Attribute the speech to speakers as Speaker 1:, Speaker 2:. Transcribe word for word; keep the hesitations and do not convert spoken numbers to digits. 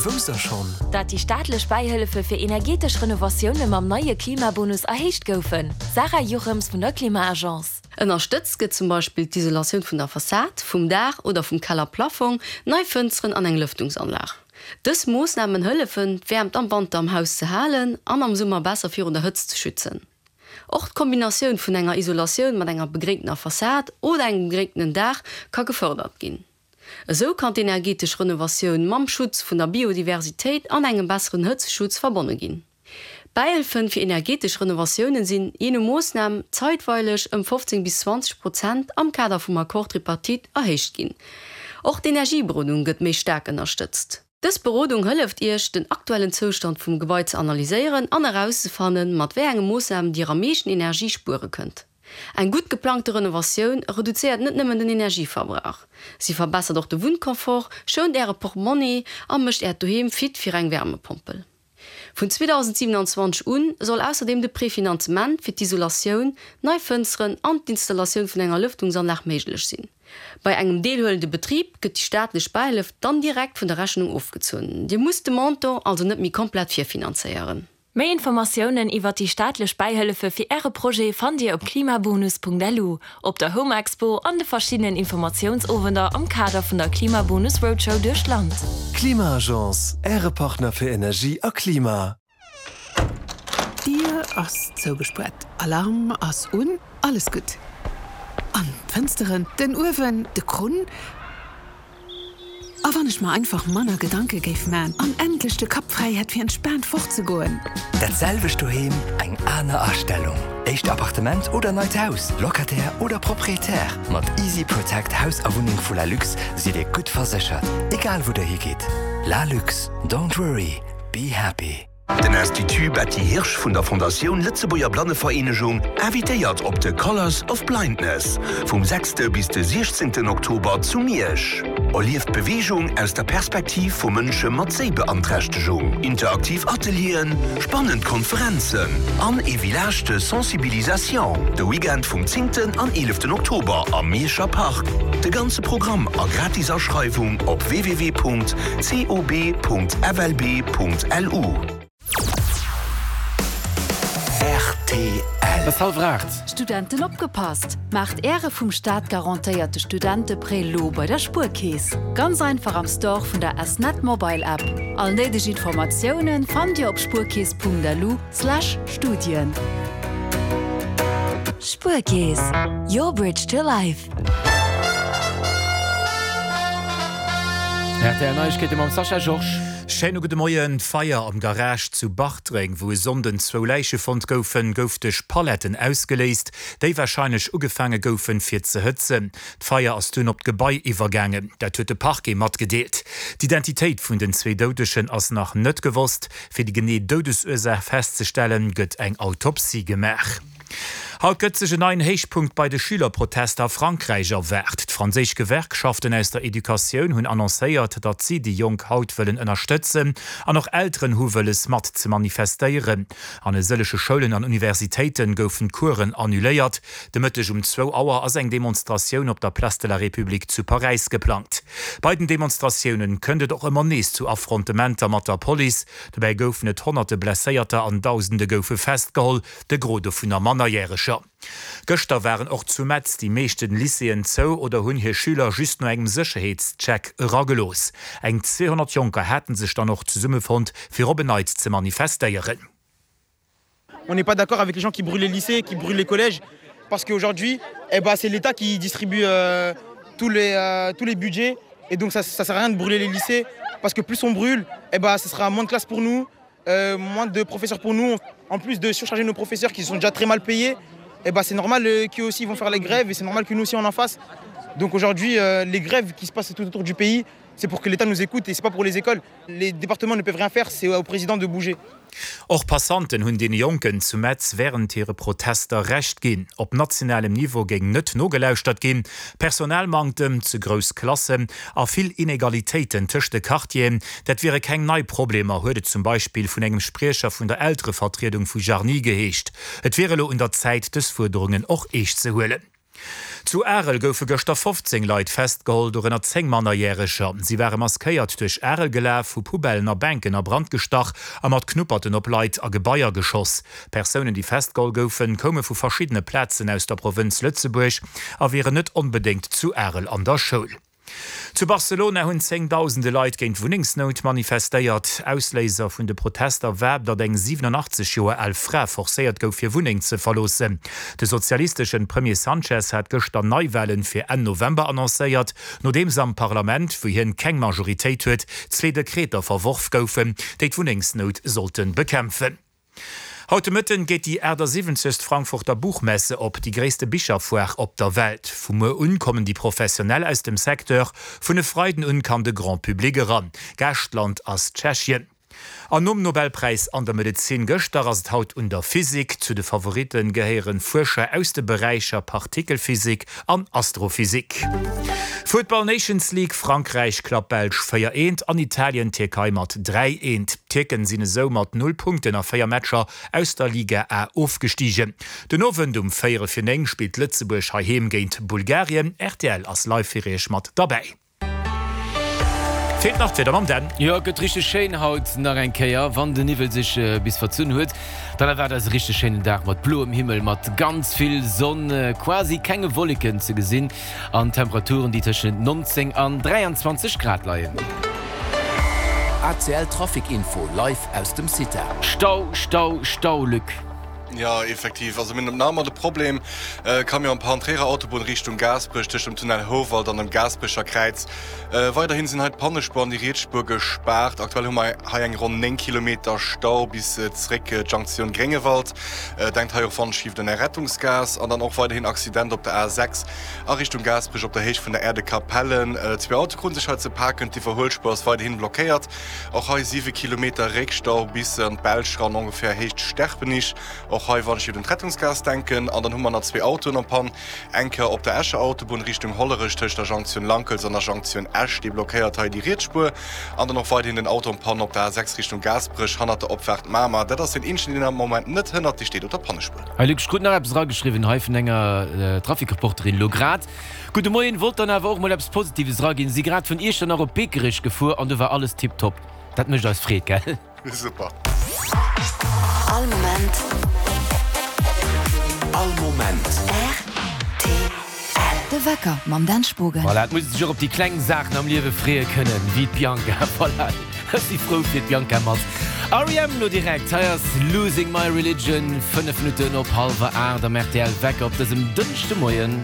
Speaker 1: Wousst der schonn?
Speaker 2: Dat déi staatlech Bäihëllefe fir energetesch Renovatioune mam neie Klimabonus erhéicht goufen? Sarah Jochems vun der Klima-Agence.
Speaker 3: Ënnerstëtzt gëtt zum Beispill d'Isolatioun vun der Fassad, vum Daach oder vum Kellerplafong, nei Fënsteren an eng Lëftungsanlag. Dës Moossnamen hëllefen, d'Wäermt am Wanter am Haus ze halen an am Summer besser virun der Hëtzt ze schützen. Och d'Kombinatioun vun enger Isolatioun mat enger begréngtener Fassad oder engem begréngtenen Daach ka gefërdert ginn. Esou kann d'energetesch Renovatioun mam Schutz vun der Biodiversitéit an engem besseren Hëtzteschutz verbonne ginn. D'Bäihëllefe fir energetesch Renovatiounen sinn, jee no Moossnam, zeitweileg ëm fofzéng bis zwanzeg Prozent am Kader vum Accord tripartite erhéicht ginn. Och d'Energieberodung gëtt méi staark ënnerstëtzt. Dës Berodung hëlleft Iech, den aktuellen Zoustand vum Gebai ze analyséieren an erauszefannen, mat wéi enge Moossnamen Dir am meeschten Energie spuere kënnt. Eng gutt geplangte Renovatioun reduzéiert net nëmmen den Energieverbrauch, si verbessert och de Wunnconfort, schount Äre Portmonni a mécht Äert Doheem fit fir eng Wärmepompel. Vun zweedausendsiewenanzwanzeg un soll ausserdeem de Prefinanzement fir d'Isolatioun, nei Fënsteren an d'Installatioun vun enger Lëftungsanlag méiglech sinn. Bei engem deelhuelende Betrib gëtt déi staatlech Bäihëllef dann direkt vun der Rechnung ofgezunn. Dir musst de Montant also net méi komplett virfinanzéieren.
Speaker 2: Méi Informatiounen iwwert déi staatlech Bäihëllefe fir Äre Projet fannt Dir op klimabonus.lu, op der Home Expo an de verschiddenen Informatiounsowender am Kader vun der Klimabonus Roadshow duerch d'Land.
Speaker 1: Klima-Agence, Äre Partner fir Energie a Klima.
Speaker 4: D'Dier ass zougespuert, Alarm ass un, alles gutt. An d'Fënsteren, den Uewen, de Krunn. A wann ech mer einfach manner Gedanke géif man an endlech de Kapp fräi hätt fir entspaant fortzegoen.
Speaker 5: Dat selwecht Doheem, eng aner Astellung. Éischt Appartement oder neit Haus, Locataire oder Proprietär, mat Easy Protect Haus a Wunneng vu Lalux sidd Dir gutt verséchert, egal wou der higeet. Lalux, don't worry, be happy.
Speaker 6: Den Institut Betty Hirsch vun der Fondatioun Lëtzebuerger Blannevereenegung invitéiert op de Colors of Blindness vum sechste bis de siechzéngten Oktober zu Miersch. Erlieft d'Beweegung aus der Perspektiv vu Mënsche mat Séibeanträchtegung. Interaktiv Atelieren, spannend Konferenzen an ee Village de Sensibilisation de Weekend vum zéngten an eeleften Oktober am Mierscher Park. De ganze Programm a gratis Aschreiwung op www.cob.flb.lu.
Speaker 5: Rtl.
Speaker 7: Et ass hallwer aacht.
Speaker 8: Studenten opgepasst! Maacht Äre vum Staat garantéierte Studenteprêt lo bei der Spuerkeess. Ganz einfach am Store vun der S-Net Mobile App. All néideg Informatiounen fannt Dir op spuerkeess.lu slash Studien.
Speaker 2: Spuerkeess, your bridge to life.
Speaker 7: Rtl Neiegkeete mam Sascha Georges.
Speaker 9: Schéine gudde Moien. D'Feier am Garage zu Bartreng, wou e Sonnden zwou Läiche fonnt goufen, gouf duerch Paletten ausgeléist, déi warscheinlech ugefaange goufen, fir ze hëtzen. D'Feier ass dunn op d'Gebai iwwergaangen. Dat huet de Parquet matgedeelt. D'Identitéit vun den zwee Doudegen ass nach net gewosst. Fir déi genee Doudesursaach festzestellen, gëtt eng Autopsie gemaach. Haut gëtt sech en neien Héichpunkt bei de Schülerprotester a Frankräich erwaart. D'franséisch Gewerkschaften aus der Educatioun hunn annoncéiert, datt si déi Jonk haut wëllen ënnerstëtzen an och Elteren hu wëlles mat ze manifestéieren. An e sëllege Schoulen an Universitéite goufen d'Coursen annuléiert. De Mëtteg um zwou Auer ass eng Demonstratioun op der Place de la République zu Paräis geplangt. Bei den Demonstratioune kënnt et och ëmmer nees zu Affrontementer mat der Police. Dobäi goufen et honnerte Blesséierter an Dausende goufe festgeholl, de Gros dovunner Mannerjäreger. Gëschter waren och zu Metz déi meeschten Lycéeën zou oder hunn hir Schüler just no engem Sécherheetscheck eragelooss. Eng zweehonnert Jonker haten sech dann och zesummefonnt, fir op en Neits ze manifestéieren.
Speaker 10: On n'est pas d'accord avec les gens qui brûlent les lycées, qui brûlent les collèges, parce qu'aujourd'hui, eh ben, c'est l'État qui distribue euh, tous, les, euh, tous les budgets, et donc ça ne sert à rien de brûler les lycées, parce que plus on brûle, eh ben, ce sera moins de classes pour nous, euh, moins de professeurs pour nous, en plus de surcharger nos professeurs qui sont déjà très mal payés, eh ben, c'est normal euh, qu'eux aussi vont faire les grèves et c'est normal que nous aussi on en fasse. Donc aujourd'hui, euh, les grèves qui se passent tout autour du pays, c'est pour que l'État nous écoute et c'est pas pour les écoles. Les départements ne peuvent rien faire, c'est au président de bouger.
Speaker 9: Och Passanten hunn deene Jonken zu Metz wärend hire Protester Recht ginn. Op nationalem Niveau géing net nogelauschtert ginn, Personalmanktem, ze grouss Klassen a vill Inegalitéiten tëscht de Quartieren, dat wiere keng nei Problemer, huet et zum Beispill vun engem Spriecher vun der Elterevertriedung vu Jarny geheescht. Et wier elo un der Zäit, dës Fuerderungen och eescht ze huelen. Zu Arel goufe gëschter fofzéng Leit festgeholl, dorënner zéng Mannerjäreger. Si ware maskéiert duerch Arel gelaf, hu Poubellen a Bänken a Brand gestach a mat Knupperten op Leit a Gebaier geschoss. D'Persounen, déi festgeholl goufen, koume vu verschiddene Plazen aus der Provënz Lëtzebuerg a wieren net onbedéngt zu Arel an der Schoul. Zu Barcelona hunn zéngdausende Leit géint d'Wunnengsnout manifestéiert. Ausléiser vun de Protester war, datt eng siwenanachtzeg Joer al Fra forcéiert gouf, hir Wunneng ze verloossen. De sozialisteschen Premier Sanchez hat gëschter Neiwalen fir Enn November annoncéiert, nodeems am Parlament, wou hien keng Majoritéit huet, zwee Dekreter verworf goufen, déi d'Wunnengsnout sollte bekämpfen. Haut de Mëtten geet déi achtasiwwenzegst Frankfurter Buchmesse op, déi gréisste Bicherfoire op der Welt. Vu muer un kommen déi Professionell aus dem Secteur, vun e Freiden un kann de Grand Public eran. Gaaschtland ass Tschechien. An nom Nobelpräis an der Medezin gëschter ass et haut un der Physik. Zu de Favoritte gehéieren Fuerscher aus de Beräicher Partikelphysik an Astrophysik. Futtball Nations League, Frankräich klappt Belsch véier eent an Italien d'Tierkei mat dräi eent. D'Tierken sinn esou mat null Punkten a véier Matcher aus der Liga A ofgestigen. Den Owend um véierel fir néng spillt Lëtzebuerg heiheem géint Bulgarien. Rtl ass live fir iech mat derbäi. Feelt nach d'Wieder mam Dan.
Speaker 7: Jo, et gëtt richteg schéin haut nach eng Kéier. Wann de Niwwel sech bis verzunn huet, dann erwaart eis e richteg schéinen Dag mat bloem Himmel, mat ganz vill Sonn, quasi kenge Wolleken ze gesinn an Temperaturen, déi tëschent neunzéng an dräianzwanzeg Grad leien.
Speaker 11: A C L Trafic Info live aus dem CITA.
Speaker 7: Stau, Stau, Stau, Luc.
Speaker 12: Jo, effektiv. Also mir hunn nach ëmmer de Problem, Camion am Tréierer Autobunn Richtung Gaasperech tëscht dem Tunnel Houwald an dem Gaasperecher Kräiz. Weiderhin sinn hei d'Pannespuer an déi riets Spuer gespaart. Aktuell hu mer hei eng ronn néng Kilometer Stau bis zeréck d'Jonktioun Gréngewald. Denkt hei och wann un Är Rettungsgaass. An dann och weiderhin Accident op der A sechs a Richtung Gaasperech op der Héicht vun der Aire de Capellen. Zwee Autoe krute sech hei ze paken, d'Iwwerhuelspuer ass weiderhin blockéiert. Och hei siwe Kilometer Réckstau bis an d'Belsch ran, ongeféier Héicht Sterpenich. Och hei wann ech un d'Rettungsgaass denken. An dann hu mer nach zwee Autoen en panne. Eng Kéier op der Escher Autobunn Richtung Hollerech tëscht der Jonktioun Lankels an der Jonktioun Esch, déi blockéiert hei déi riets Spuer. An dann och weiderhin den Auto en panne op der A sechs Richtung Gaasperech hannert der Opfaart Mamer. Dat ass deen eenzegen, deen am Moment net hënnert, dee steet op der Pannespuer.
Speaker 7: Hei Luc, ech krut nach eppes erageschriwwen hei vun enger Trafikreporterin elo grad. Gudde Moien, wollt dann awer och mol eppes Positives eraginn. Si grad vun Iechternach op Biekerech gefuer an do war alles tiptop. Dat mécht eis Freed, gell?
Speaker 12: Super.
Speaker 13: All Moment.
Speaker 11: All Moment.
Speaker 13: R T L. De Wecker mam Dan Spogen.
Speaker 7: Voilà, et muss ee sech och op déi kleng Saachen am Liewe freeë kënnen, wéi d'Bianca. Voilà, ech si frou fir d'Bianca mat R E M lo direkt. Hei ass Losing My Religion, fënnef Minutten op hallwer aacht am R T L Wecker op dësem Dënschdemoien.